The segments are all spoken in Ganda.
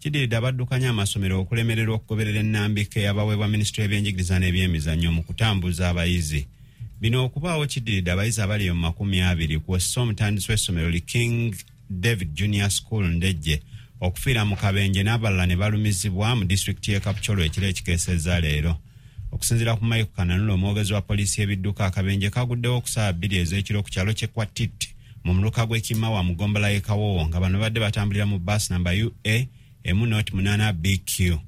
Kidiridde abaddukanya amasomero okulemererwa okugoberera ennambika eyabaweebwa minisitule y'ebyenjigiriza n'ebyemizannyo mu kutambuza abayizi. Bino okubaawo kiddiridde abayizi abali mu 20 kw'ossa omutandisi w'essomero li King David Junior School Ndejje okufiira mu kabenje n'abalala ne balumizibwa mu disitulikiti y'e Kapchorwa ekiro ekikeesezza leero. Okusinziira ku Mike Kananula, omwogezi wa poliisi y'ebidduka, akabenje kaguddewo ku ssaawa 2 ez'ekiro ku kyalo ky'e Kwatit mu muluka gw'e Kimawa mu ggombolola y'e Kawowo nga bano babadde batambulira mu bbaasi namba UA emu nought 8 BQ.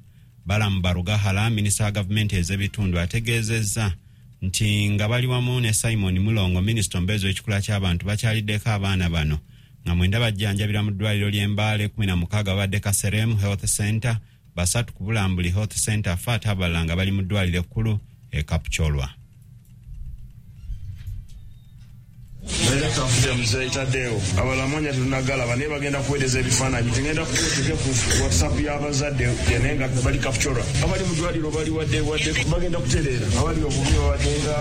Balaam Barugahara, minisita wa gavumenti ez'ebitundu ategeezezza nti nga bali wamu ne Simon Mulongo, minisita omubeezi w'ekikula ky'abantu, bakyaliddeko abaana bano nga 9 bajjanjabirwa mu ddwaliro ly'e Mbale, 16 babadde Kaseremu Health Center, 3 ku Bulambuli Health Center, fa ate abalala nga bali mu ddwaliro ekkulu e Kapchorwa. Director of Mzee Tadeo abalamonya tetunagalaba naye bagenda kuweereza ebifaananyi, tugenda kuteeke ku WhatsApp y'abazadde naye nga bali Kapchorwa, abali mu ddwaliro bali wadde wadde bagenda kutereera, abali obubi babadde nga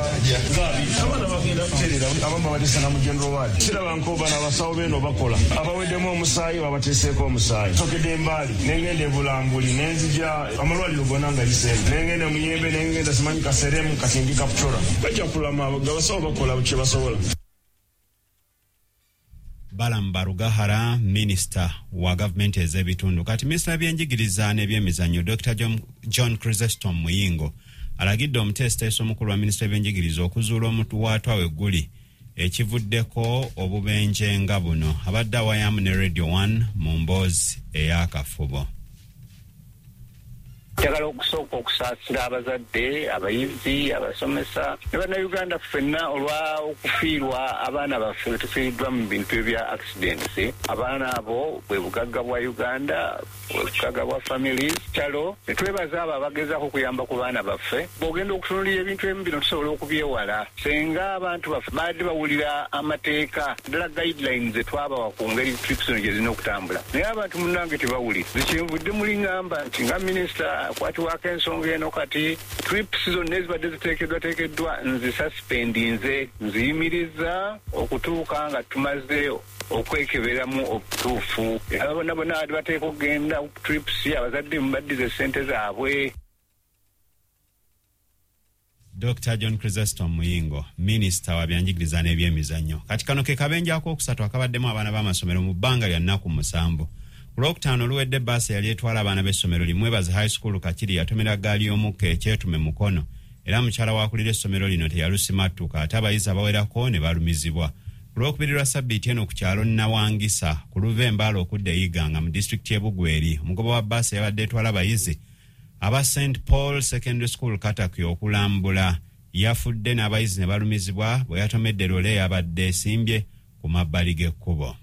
gabi, abaana bagenda kutereera, abamu babateesa na mu general ward. Siraba nkoba n'abasawo beeno bakola, abaweddemu omusaayi babateeseeko omusaayi. Sokedde Embaali, nengenda e Bulambuli, nenzija amalwaliro gonna nga yiseemu, nengenda e Muyembe, nengenda simanyi Kaseremu, kati ndi Kapchorwa. Bajja kulama, abasawo bakola kye basobola. Balaam Barugahara, minisita wa gavumenti ez'ebitundu. Kati minisita w'ebyenjigiriza n'ebyemizannyo Dr John Chrysostom Muyingo alagidde omuteesiteesi omukulu wa minisita w'ebyenjigiriza okuzuula omuwaatwa we guli ekivuddeko obubenje nga buno. Abadde awayamu ne Radio 1 mu mboozi ey'akafubo. Njagala okusooka okusaasira abazadde, abayizi, abasomesa ne bannayuganda ffenna olwa okufiirwa abaana baffe betufiiriddwa mu bintu ebya accidents. Abaana abo bwe bugagga bwa Uganda, bwe bugagga bwa families. Kyalo ne twebaza abo abagezaako okuyamba ku baana baffe. Bw'ogenda okutunuulira ebintu ebimu bino tusobola okubyewala singa abantu baffe baadde bawulira amateeka, ddala guidelines ze twabawa ku ngeri trips zino gye zirina okutambula. Naye abantu munnange tebawulira. Nze kyenvudde muli ŋŋamba nti nga minisita akwatibwako ensonga eno kati trips zonna ezibadde ziteekeddwateekeddwa nzisuspendinze, nziyimiriza okutuuka nga tumaze okwekeberamu obutuufu. Abo bonna bonna abadde bateeka okugenda ku trips, abazadde mubaddize ssente zaabwe. Dr John Chrysostom Muyingo, minisita wa byanjigiriza n'ebyemizannyo. Kati kano ke kabenje akookusatu akabaddemu abaana b'amasomero mu bbanga lya nnaku 7. Ku Lwokutaano oluwedde bbaasi eyali etwala abaana b'essomero Limwebaze High School Kakiri yatomera ggaali y'omukka ekyetume Mukono, era mukyala w'akulira essomero lino teyalusimattuka ate abayizi abawerako ne balumizibwa. Ku Lwokubiri lwa ssabbiiti eno ku kyalo Nawangisa ku luva e Mbale okudda e Iganga mu disitulikiti y'e Bugweri, omugoba wa bbaasi eyabadde etwala abayizi aba St Paul Secondary School Katakwi okulambula yafudde n'abayizi ne balumizibwa bwe yatomedde loole eyabadde esimbye ku mabbali g'ekkubo.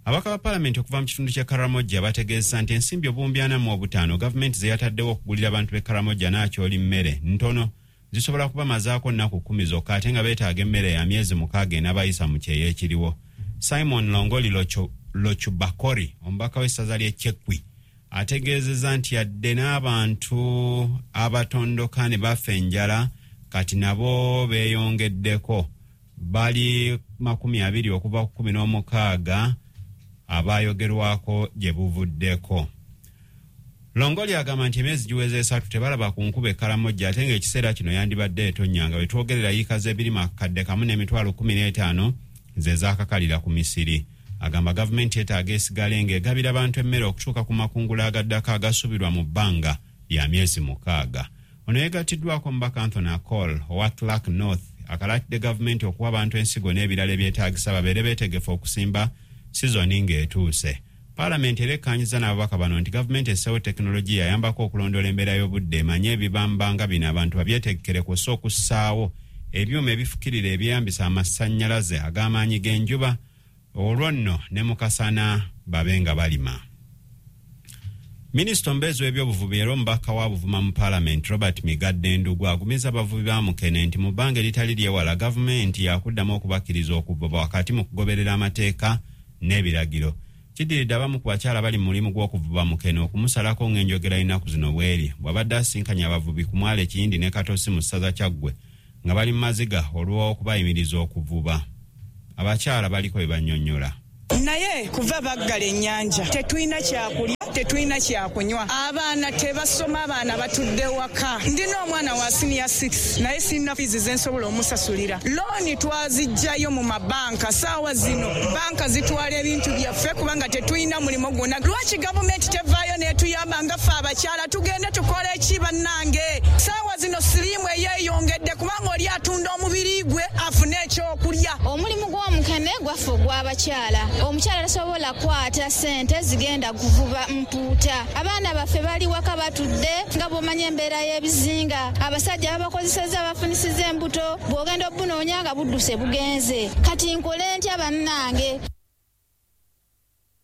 Ababaka ba Palamenti okuva mu kitundu ky'e Karamoja bategeezezza nti ensimbi 45,000 gavumenti ze yataddewo okugulira abantu b'e Karamoja n'akyoli mmere ntono, zisobola kubamazaako nnaku 10 zokka ate nga beetaaga emmere ya myezi 6 enabayisa mu kyeya ekiriwo. Simon Longoli Lochubakori, omubaka w'essaza ly'e Chekwi, ategeezezza nti yadde n'abantu abatondoka ne bafa enjala kati nabo beeyongeddeko, bali 20 okuva ku 16 abaayogerwako gye buvuddeko. Longoli agamba nti emyezi giweze 3 tebalaba ku nkuba e Karamoja ate ng'ekiseera kino yandibadde etonnya nga bwe twogerera yiika z'ebirime 1,015 ze zaakakalira ku misiri. Agamba gavumenti yeetaaga esigale ng'egabira abantu emmere okutuuka ku makungula agaddako agasuubirwa mu bbanga lya myezi 6. Ono yeegattiddwako omubaka Anthony Akol owa Clark North akalaatidde gavumenti okuwa abantu ensigo n'ebirala ebyetaagisa babeere beetegefu okusimba sizoni ng'etuuse. Paalamenti era ekkaanyizza n'ababaka bano nti gavumenti esseewo tekinologiya ayambako okulondoola embeera y'obudde emanye ebibamba nga bino abantu babyetegekere kw'ossa okussaawo ebyuma ebifukirira ebyeyambisa amasannyalaze ag'amaanyi g'enjuba, olwo nno ne mu kasana babe nga balima. Minisita omubeezi w'ebyobuvubi era omubaka wa Buvuma mu Paalamenti Robert Migadde Ndugu agumiza abavubi ba mukene nti mu bbanga eritali lyewala gavumenti yaakuddamu okubakkiriza okuvuba wakati mu kugoberera amateeka n'ebiragiro. Kiddiridde abamu ku bakyala bali mu mulimu gw'okuvuba mukene okumusalako ng'enjogera y'ennaku zino bw'eri bw'abadde asisinkanye abavubi ku mwalo e Kiyindi ne Katosi mu ssaza Kyaggwe nga bali mu maziga olw'okubayimiriza okuvuba. Abakyala baliko bye bannyonnyola. Naye kuva baggala ennyanja, tetulina kyakulya, tetulina kyakunywa, abaana tebasoma, abaana batudde waka. Ndina omwana wa siniya 6, naye sirina fiizi zensobola omusasulira. Looni twazijjayo mu mabanka, saawa zino banka zitwala ebintu byaffe kubanga tetulina mulimu gwonna. Lwaki gavumenti tevaayo n'etuyamba nga ffe abakyala? Tugende tukole ki bannange? Saawa zino siriimu eyeeyongedde kubanga oli atunda omubiri gwe afune ekyokulya. Omulimu gw'omukene gwaffe ogw'abakyala, omukyala tasobola kukwata ssente zigenda kuvuba mpuuta. Abaana baffe bali waka batudde, nga bw'omanya embeera y'ebizinga, abasajja babakozesezza, bafunisiza embuto, bw'ogenda obunoonya nga budduse bugenze. Kati nkole ntya bannange?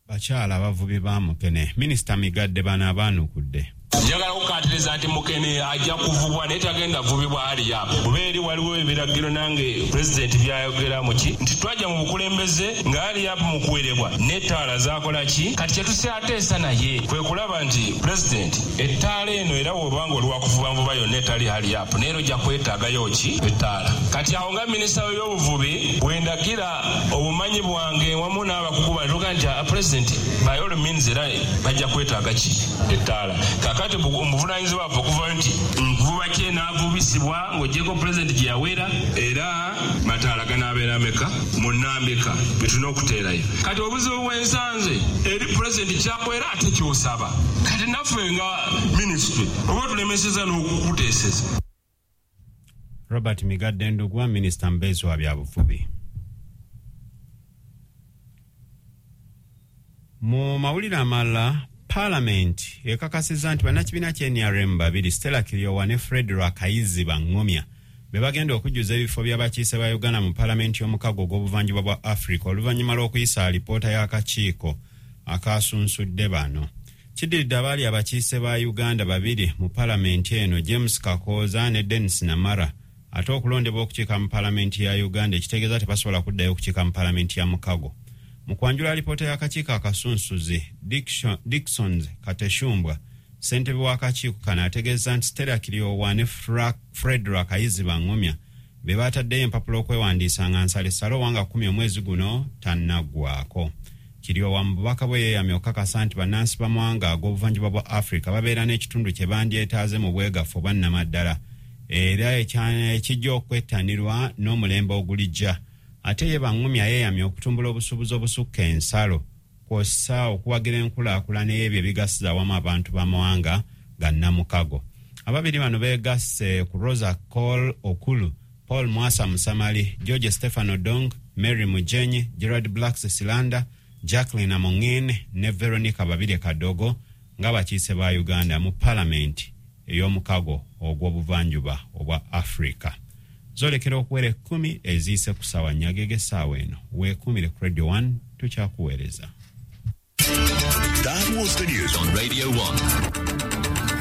Bakyala abavubi ba mukene, Minisita Migadde bano abaanukudde. Njagala kukkaatiriza nti mukene ajja kuvubwa, naye tagenda vubibwa haliyapu kuba eri waliwo ebiragiro nange pulezidenti byayogera muki nti twajja mu bukulembeze nga haliyapu mu kuwerebwa n'ettaala zaakola ki. Kati kyetusyateesa naye kwe kulaba nti pulezidenti ettaala eno era bw'obanga oli wakuvuba nvuba yonna etali haliyapu, naye era ojja kwetaagayo ki ettaala. Kati awo nga minisita w'ebyobuvubi bwendagira obumanyi bwange wamu n'abakugu bantuga nti pulezidenti by all means era bajja kwetaaga ki ettaala. Kakati omuvunaanyizibwa waffe okuvayo nti nvuba ki enaavubisibwa ng'oggyeko pulezidenti gye yawera, era mataala ganaabeera meka munnambika bye tulina okuteerayo. Kati obuzibu bw'ensanze eri pulezidenti kyakwera ate ky'osaba, kati naffe nga minisitule oba tulemeseza n'okukuteeseza. Robert Migadde Ndugwa, minisita mubeezi wa byabuvubi. Mu mawulire amalala, Paalamenti ekakasizza nti bannakibiina kya NRM babiri, Stella Kiryowa ne Fred Rwakayizi Bangomya, be bagenda okujjuza ebifo by'abakiise ba Uganda mu paalamenti y'omukago ogw'obuvanjuba bwa Africa oluvannyuma lw'okuyisa alipoota y'akakiiko akasunsudde bano. Kiddiridde abaali abakiise ba Uganda babiri mu paalamenti eno, James Kakooza ne Denis Namara, ate okulondebwa okukiika mu paalamenti ya Uganda, ekitegeeza tebasobola kuddayo okukiika mu paalamenti ya mukago. Mu kwanjula alipoota y'akakiiko akasunsuzi, Dickson Kateshumbwa, ssentebe w'akakiiko kano, ategeeza nti Stella Kiryowa ne Fred Rwakayizi Bangomya be bataddeyo empapula okwewandiisa nga nsalessale owanga 10 omwezi guno tannaggwako. Kiryowa mu bubaka bwe yeeyamye okukakasa nti bannansi b'amawanga ag'obuvanjuba bwa Africa babeera n'ekitundu kye bandyetaaze mu bwegafu obwa nnamaddala era ekijja okwettanirwa n'omulembe ogulijja. Ate ye Bangumya yeeyamye okutumbula obusuubuzi obusukka ensalo kw'ossa okuwagira enkulaakulana y'ebyo ebigasiza awamu abantu b'amawanga ga nnamukago. Ababiri bano beegasse ku Rosa Cole Okulu, Paul Mwasa Musamali, George Stefano Dong, Mary Mujenyi, Gerard Blacks Silanda, Jacqueline Amongin ne Veronica Babirye Kadogo ng'abakiise ba Uganda mu paalamenti ey'omukago ogw'obuvanjuba obwa Africa. Zolekera okuwera 10 eziyise ku ssaawa nnya ag'essaawa eno. Weekuumire ku Radio 1, tukyakuweereza. That was the news on Radio 1.